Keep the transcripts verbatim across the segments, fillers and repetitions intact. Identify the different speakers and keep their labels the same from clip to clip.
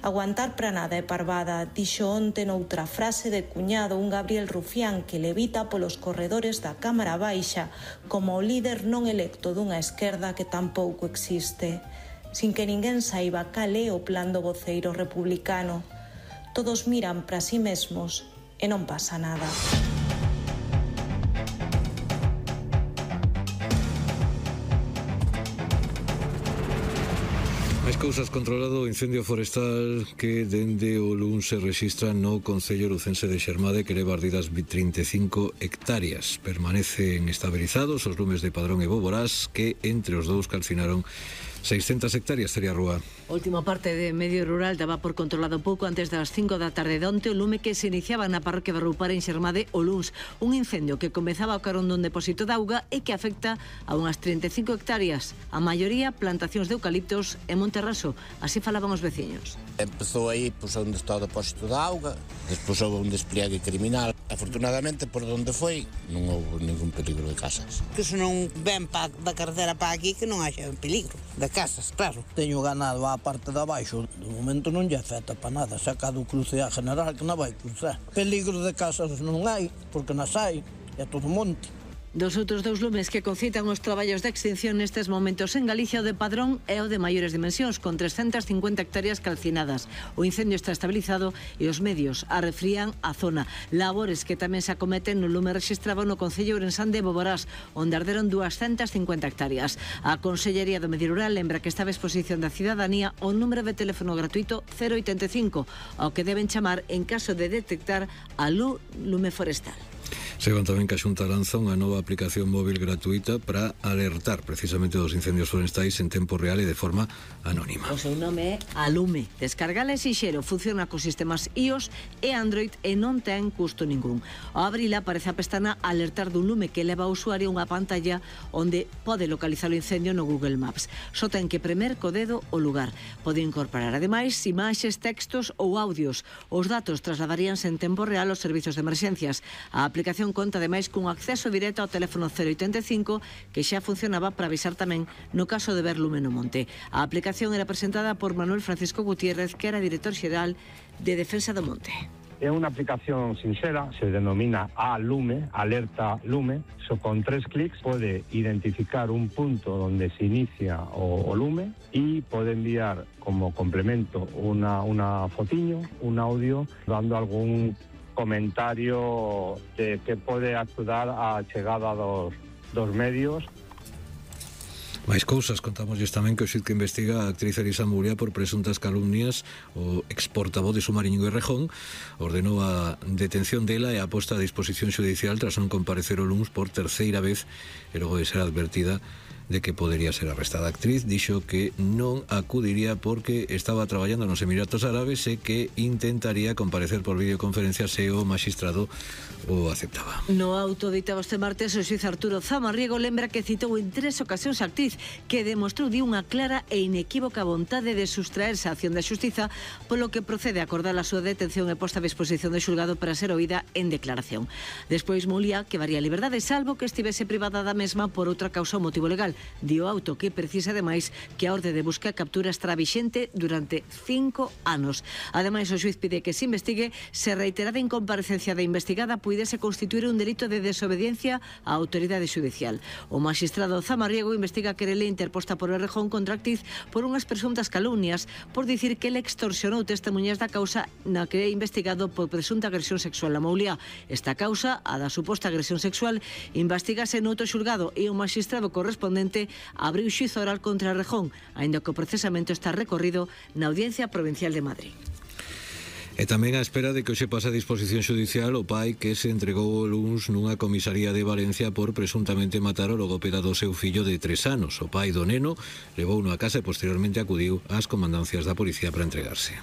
Speaker 1: Aguantar para nada é parvada, dixo onte noutra frase de cuñado un Gabriel Rufián que levita polos corredores da Cámara Baixa como o líder non electo dunha esquerda que tampouco existe. Sin que ninguén saiba cal é o plan do voceiro republicano. Todos miran para si mesmos e non pasa nada.
Speaker 2: Máis cousas. Controlado o incendio forestal que dende o luns se rexistra no concello lucense de Xermade, que leva ardidas trinta e cinco hectáreas. Permanecen estabilizados os lumes de Padrón e Boborás, que entre os dous calcinaron seiscentas hectáreas. Sería Rúa.
Speaker 3: Última parte de medio rural daba por controlado pouco antes das cinco da tarde de onte o lume que se iniciaba na parroquia de Roupar en Xermade o luns. Un incendio que comezaba ao carón dun depósito de auga e que afecta a unhas trinta e cinco hectáreas. A maioría plantacións de eucaliptos e monte raso. Así falaban os veciños.
Speaker 4: Empezou aí pois, onde está o depósito de auga, despois houve un despliegue criminal. Afortunadamente, por onde foi, non houve ningún peligro de casas.
Speaker 5: Que se non ven pa, da carretera para aquí, que non haxa peligro de casas, claro.
Speaker 6: Teño ganado á parte de abaixo, de momento non lle afecta para nada, sacado o cruce a general que non vai cruzar. Peligro de casas non hai, porque nas hai, é todo monte.
Speaker 3: Dos outros dous lumes que concitan os traballos de extinción nestes momentos en Galicia, o de Padrón é o de maiores dimensións, con trescentas cincuenta hectáreas calcinadas. O incendio está estabilizado e os medios arrefrían a zona. Labores que tamén se acometen no lume rexistrado no concello ourensán de Boborás, onde arderon duascentas cincuenta hectáreas. A Consellería do Medio Rural lembra que está a exposición da cidadanía o número de teléfono gratuito cero oitenta e cinco, ao que deben chamar en caso de detectar a lume forestal.
Speaker 2: Seban tamén que a Xunta lanza unha nova aplicación móvil gratuita para alertar precisamente dos incendios forestais en tempo real e de forma anónima.
Speaker 3: O seu nome é Alume. Descargala e xixero, funciona cos sistemas iOS e Android e non ten custo ningún. Ao abrila aparece a pestana Alertar dun lume que leva ao usuario unha pantalla onde pode localizar o incendio no Google Maps. Só ten que premer co dedo o lugar. Pode incorporar ademais imaxes, textos ou audios. Os datos trasladaríanse en tempo real aos servizos de emerxencias. A aplicación conta ademais cun acceso directo ao teléfono cero oitenta e cinco que xa funcionaba para avisar tamén no caso de ver lume no monte. A aplicación era presentada por Manuel Francisco Gutiérrez, que era director xeral de Defensa do Monte.
Speaker 7: É unha aplicación sincera, se denomina A-Lume, Alerta Lume. So, con tres clics pode identificar un punto donde se inicia o, o lume e pode enviar como complemento unha, una fotiño, un audio, dando algún comentario de que pode axudar á chegada dos, dos medios.
Speaker 2: Máis cousas, contámoslles tamén que o xuíz que investiga a actriz Elisa Muria por presuntas calumnias, o exportavoz de Sumariño e Rejón, ordenou a detención dela e a posta a disposición xudicial tras non comparecer o luns por terceira vez e logo de ser advertida de que podería ser arrestada. A actriz dixo que non acudiría porque estaba traballando nos Emiratos Árabes e que intentaría comparecer por videoconferencia se o magistrado o aceptaba.
Speaker 3: No auto ditado este martes, o xuíz Arturo Zamarriego lembra que citou en tres ocasións a actriz, que demostrou de unha clara e inequívoca vontade de sustraerse a acción da xustiza, polo que procede a acordar a súa detención e posta a disposición do xulgado para ser oída en declaración. Despois Mulia que varía a liberdade, salvo que estivese privada da mesma por outra causa ou motivo legal. Dio auto que precisa ademais que a orde de busca e captura estará vixente durante cinco anos. Ademais, o xuíz pide que se investigue se reiterada incomparecencia da investigada puidese constituir un delito de desobediencia á autoridade xudicial. O magistrado Zamarriego investiga a querela interposta por Errejón contra a actriz por unhas presuntas calumnias por dicir que ele extorsionou testemunhas da causa na que é investigado por presunta agresión sexual a Mouliá. Esta causa, a da suposta agresión sexual, investigase noutro xulgado e o magistrado correspondente abriu xuízo oral contra Errejón, aínda que o procesamento está recorrido na Audiencia Provincial de Madrid.
Speaker 2: E tamén á espera de que hoxe pase a disposición xudicial o pai que se entregou o luns nunha comisaría de Valencia por presuntamente matar o logopeda do seu fillo de tres anos. O pai do neno levouno a casa e posteriormente acudiu ás comandancias da policía para entregarse.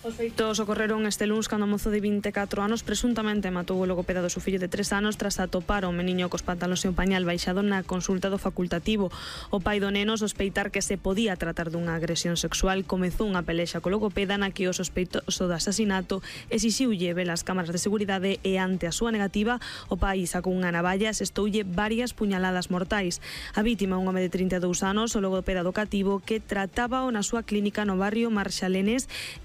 Speaker 8: Os feitos ocorreron este luns cando o mozo de vinte e catro anos presuntamente matou o logopeda do seu fillo de tres anos tras atopar o meniño cos pantalóns e un pañal baixado na consulta do facultativo. O pai do neno, sospeitar que se podía tratar dunha agresión sexual, comezou unha pelexa co logopeda na que o sospeitoso do asasinato exixiulle ver as cámaras de seguridade e ante a súa negativa o pai sacou unha navalla e asestoulle varias puñaladas mortais. A vítima, un home de trinta e dous anos, o logopeda do cativo que tratábao na súa clínica no barrio Marxalenes